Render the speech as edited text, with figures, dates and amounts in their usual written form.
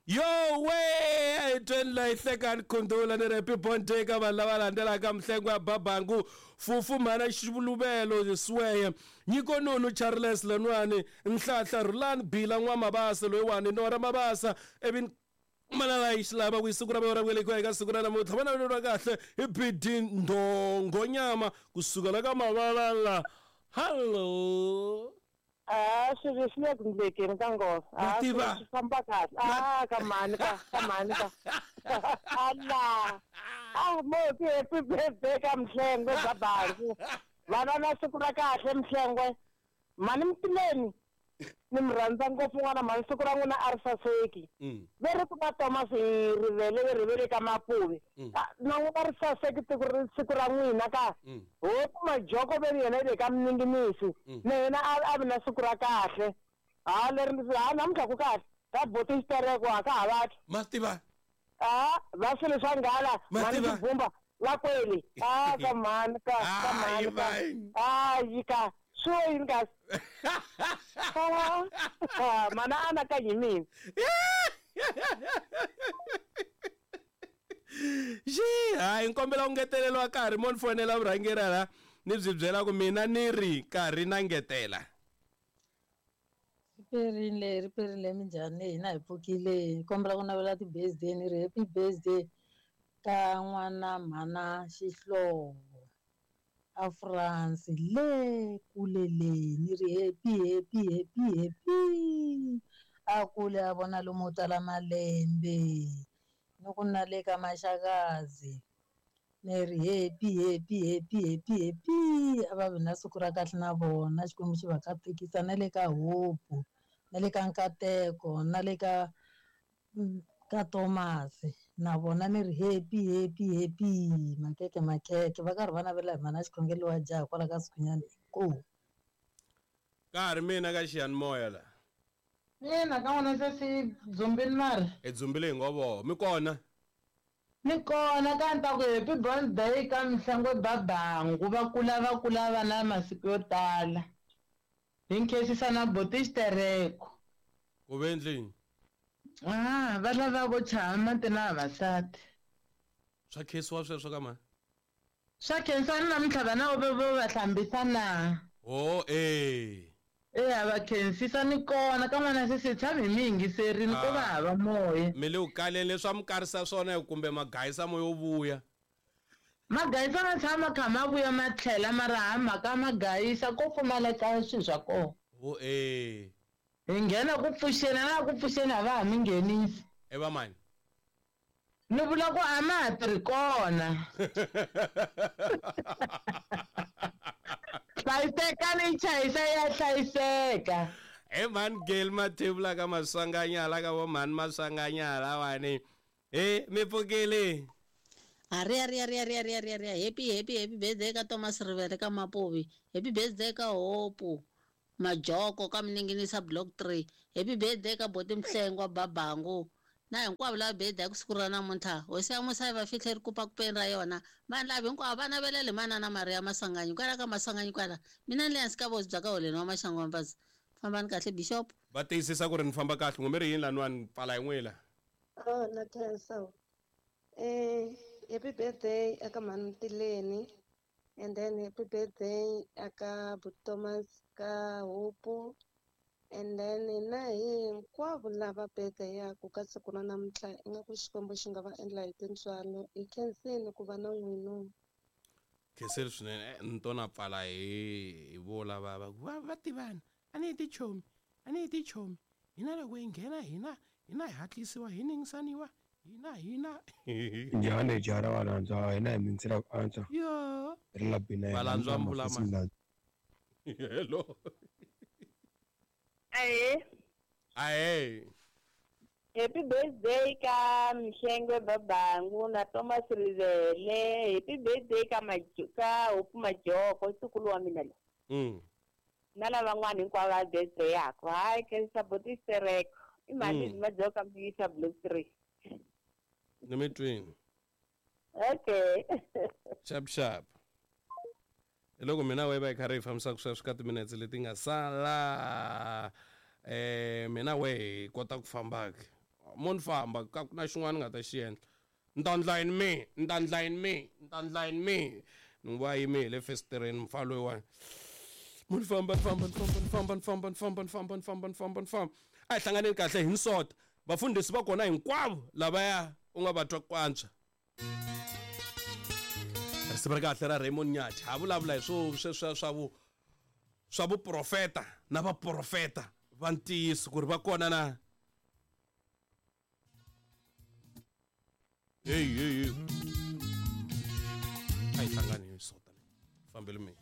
Yo we a hi tweni la hi hlekani khundula ni ri happy born day ka vanhu lava landzelaka mihlengo ya babangu fufu mhana xivuluvelo sweye nyiko nunu charles laniwani nhlahla rhulani bila n'wamabasa loyiwani nora mabasa ivi manana yi xi lava ku yi siku ra vona ra ku velekiwa eka siku ra namuntlha va naveleriwa kahle hi bd ndhongonyama kusuka la ka mavalala hallo. A swilo swi le ku ndlekeni ka nghozi. Ma A tiva. swilo swi famba kahle. A ka mhani ka ka mhani ka. Ala. A mo ti happy birthday ka Mhlengwe babangu. Vana na siku ra kahle Mhlengwe. Mhani Mtileni ni mi rhandza ngopfu n'wana mhani siku ra n'wina a ri saseki. Ve ri ku na Thomas hi rivele ve rivele ka Mapuve. Ah, na n'wina ri saseki tiko ri siku ra n'wina ka. Hoku Majoko ve ri yena i le ka Mninginisi. Na yena a a vi na siku ra kahle. Ha leri ndzi ha namuntlha ku kahle. Ka boti xitereko a ka ha vatwi. Ma tiva. A va swilo swa nghala Ma mhani tiva. Xibumba va kwele. A ka mhani ka ka Hayi mhani ka. mani. Hayi ka swi wo yini kasi? Ah, mhani a anakanyi hi mina. Xi hayi nkombela ku ngeteleriwa nkarhi mo ni fonela vurhangeri la ni byi byela ku mina ni ri nkarhi na ngetela. Riperile riperile minjhani hina hi pfukile hi kombela ku navela ti-birthday ni ri happy birthday ka n'wana mhana Xihlovo a France le kule le ni ri happy happy happy happy a kule a vona lomu tala malembe ni ku na le ka Maxakazi ni ri happy happy happy happy happy a va vi na siku ra kahle na vona Xikwembu xi va katekisa na le ka Hope na le ka Nkateko na le ka ka Thomas na vona ni ri happy happy happy makeke makeke va karhi va navela hi mhana xikhongelo wa jaha kwala ka Sikhunyani inkomu. Ka ha ri mina ka xiyanimoya la. Ina ka n'wina se swi dzumbini mara. Hi dzumbile hi ngo voho mi kona. Ni kona ka ni ta ku happy birthday ka Mhlengwe Babangu va kula va kula va na masiku yo tala. Hi nkhensisa na boti xitereko. Ku ve endlini. Ah, va lava vo chaya mati na vavasati. Swa khensiwa sweswo ka mhani. Swa khensiwa ni namuntlha vana vo vo va hlambisa na. Ho eh. Eya va khensisa ni kona ka n'wana se se tshami hi mi yingiserini ko va hava moya. Mi le ku kaleni leswi a mi karisa swona kumbe magayisa mo yo vuya. Magayisa ma tshama ma kha ma vuya ma tlhela mara ha mhaka magayisa ko pfumaleka swilo swa kona. Ho eh. Hi nghena ku pfuxeni na ku pfuxeni a va ha mi nghenisi. E va mani? Ni vula ku a ma ha tirhi kona. Hlayisekani yi chayisa ya hlayiseka. He mhani Geli Mathebula ka Maswanganyala ka vo mhani Maswanganyala wani. He mi pfukile. Hariya riya riya riya riya riya riya happy happy happy birthday ka Thomas Rivele ka Mapuvi happy birthday ka Hope Majoko ka Mninginisa block 3 happy birthday ka Boti Mhlengwa Babangu na hinkwavo lava birthday ku siku ra namuntlha hosi ya musa yi va fihle ri kupa kupeni ra yona vanhu lava hinkwavo va navelele manana Maria Maswanganyi kwala ka Maswanganyi kwala mina ni le hansi ka vosi bya ka holeni wa Maxangu wa Mbazi fambani kahle bishop. Va tiyisisa ku ri ni famba kahle n'we mi ri yini laniwani pfala hi n'wila. Oh, na khensa. Eh, happy birthday aka mhani Mtileni and then happy birthday aka but Thomas ka Hope and then na hinkwavo lava birthday yaku ka siku ra namuntlha ingaku Xikwembu xi nga va endla hi tintswalo hi khensini ku va na n'wina. Khensile swinene ni to na pfala hi hi vo lava va ku va va tivana a ni hi tichomi a ni hi tichomi hina loko hi nghena hina hina hi hatlisiwa hi ningisaniwa hina hina. Njhani jara wa landzwa hina hi mindzila ku antswa. Yo. Ri la bina Va landzwa mbula ma. Hello. Ahee. Ahee. Happy birthday ka Mhlengwe Babangu na Thomas Rivele. Happy birthday ka ka Hope Majoko ntukulu wa mina loyi. Na lavan'wana hinkwavo va birthday yakwe. Hayi khensa boti Xitereko. I mhani Majoko mi yisa block 3. Ni mi twini. Okay. Sharp sharp. Hi loko mina we va hi karhi hi fambisaka sweswo ka timinetse leti nga sala mina we hi kota ku famba ke. Mo ni famba ka ku na xin'wana ni nga ta xi endla. Ni ta ndla yini me? Ni ta ndla yini me? Ni ta ndla yini me? Ni n'wi va yime hi le fesitereni mufana loyiwani. Mo ni famba ni famba ni famba ni famba ni famba ni famba ni famba ni famba ni famba ni famba. A hi hlanganeni kahle hi nsota. Vafundhisi va kona hinkwavo lavaya u nga va twa ku antswa. Risimu ra kahle ra Raymond Nyathi ha vulavula hi swo sweswiya swa vu swa vuprofeta na vaprofeta va ntiyiso ku ri va kona na heyi heyi heyi a yi hlangani hi sota leyi fambele mina.